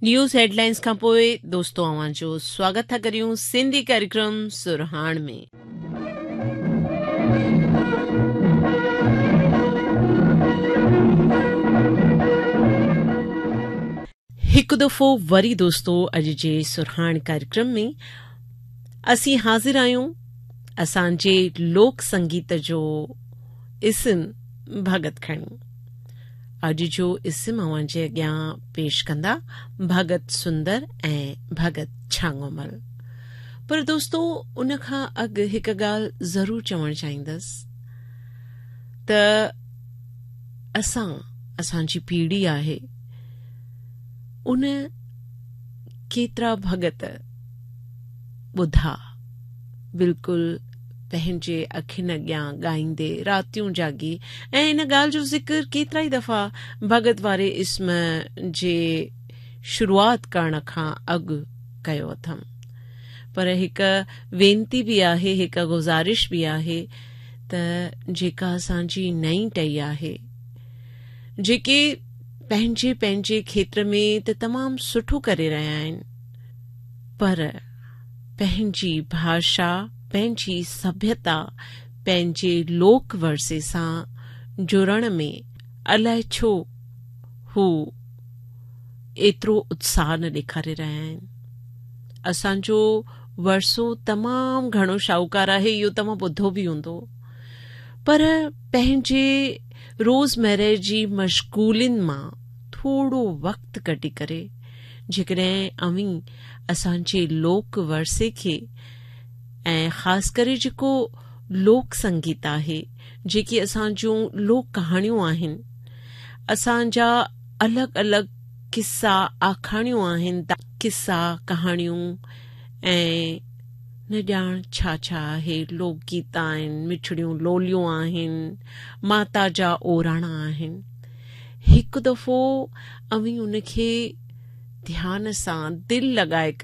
News headlines کان پوء دوستو اوهان جو سواگت ٿا ڪريون سنڌي ڪاريڪرم سرهاڻ ۾. هڪ دفعو وري دوستو اڄ جي سرهاڻ ڪاريڪرم ۾ اسين حاضر آهيون اسان جي لوڪ سنگيت جو اسم ڀڳت کڻي اڄ جو اسم اوهان جي اڳيان پيش ڪندا ڀڳت سندر ۽ ڀڳت ڇانگومل. پر دوستو ان کان اڳ هڪ ڳالهه ضرور چوڻ چاهيندس ته اسان اسان جي پيڙهي آهي ان ڪيترا ڀڳت ٻڌا بلڪل پنهنجي اکين اڳيان ڳائيندي راتيون جاڳي ۽ ان ڳالهه جو ذڪر ڪيترائي دفعا ڀڳت واري اسم جي شروعات ڪرڻ کان اڳ ڪيو اٿم. پر هڪ وينتي به آهي هڪ گذارش به آهي ته جيڪا اسان جي نئين ٽهي آهي جيڪي پنهنجي پنهنجي کيتر ۾ ته تمام سٺو ڪري رهيا آهن پر پنهنجي ڀاشا، پنهنجي سڀيتا، پنهنجي لوڪ ورثي سان جڙڻ ۾ الائي ڇو هو ايترو اتساهه نه ڏيکاري رهيا آهن. اسان جو ورثو تمام گهڻو شاهوڪار آهي اهو توهان ٻڌو به هوندو پر پنهنجي روزمره جي مشغولين مان ٿورو وقت ڪڍي ڪري جيڪڏهن اوهين اسان جي لوڪ ورثي کي ۽ خاص ڪري جيڪو لوڪ سنگيت آهي، جيڪي اسان جون لوڪ ڪهاڻيون آهن، اسان جا الڳ الڳ قصا آکاڻيون آهن، قصا ڪهاڻيون ۽ نه ڄاڻ ڇا ڇا آهي، لوڪ گيت آهن، مٺڙيون لوليون آهن، ماتا جا اوراڻا آهن. هڪ دفعو اوهين ان کي ڌيان سان دل لڳائي ڪري.